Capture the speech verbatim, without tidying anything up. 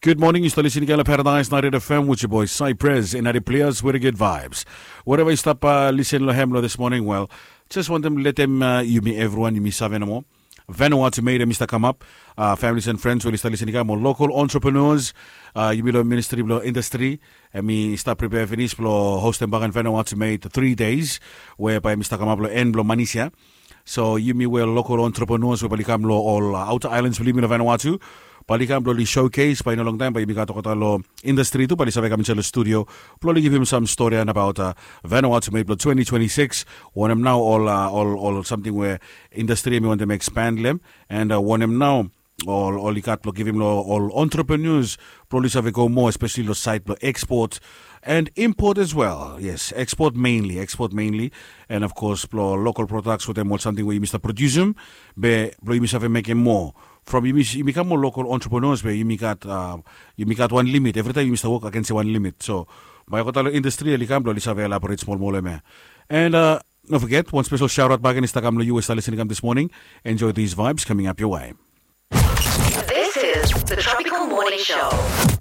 Good morning, yu stap lisin i kam long Paradise ninety-eight F M with your boy Cypress and Adi Plias with the good vibes. Wherever yu stap uh, lisin long hem long this morning, well, just wantem letem uh, yumi everyone yumi save nomo. Vanuatu Made em i stap kamap. Uh, families and friends we yu stap lisin i kam, ol local entrepreneurs, uh, yumi long ministry bilong industry, em i stap prepare finis bilong hostem bakan Vanuatu Made three days, we bae em i stap kamap long en bilong manis ya. So yumi we local entrepreneurs we bae oli kam long ol uh, outer islands bilong yumi long Vanuatu, bae oli kam bilong oli showcase, bae i no long taim bae yumi gat olgeta long industry tu bae oli save kam insait long studio bilong oli givim sam story and about uh, Vanuatu Made bilong twenty twenty-six. Wanem nau ol uh, ol ol samting we industry em i wantem expand long em, and uh, wanem nau ol ol i gat bilong givim long ol entrepreneurs bilong oli save go moa, especially long side bilong export and import as well. Yes, export mainly, export mainly. And of course bilong local products wetem ol samting we yumi stap produsim, be bilong yumi save mekim moa from yumi, yumi kam ol local entrepreneurs be yumi gat uh, yumi gat wan limit. Every time yumi stap wok against wan limit. So bae olgeta long industry oli kam bilong oli save elaborate small moa long em ya. And uh, no forget, one special shout out back and i stap kam long yu we stap lisin i kam this morning. Enjoy these vibes coming up your way. This is the Tropical Morning Show.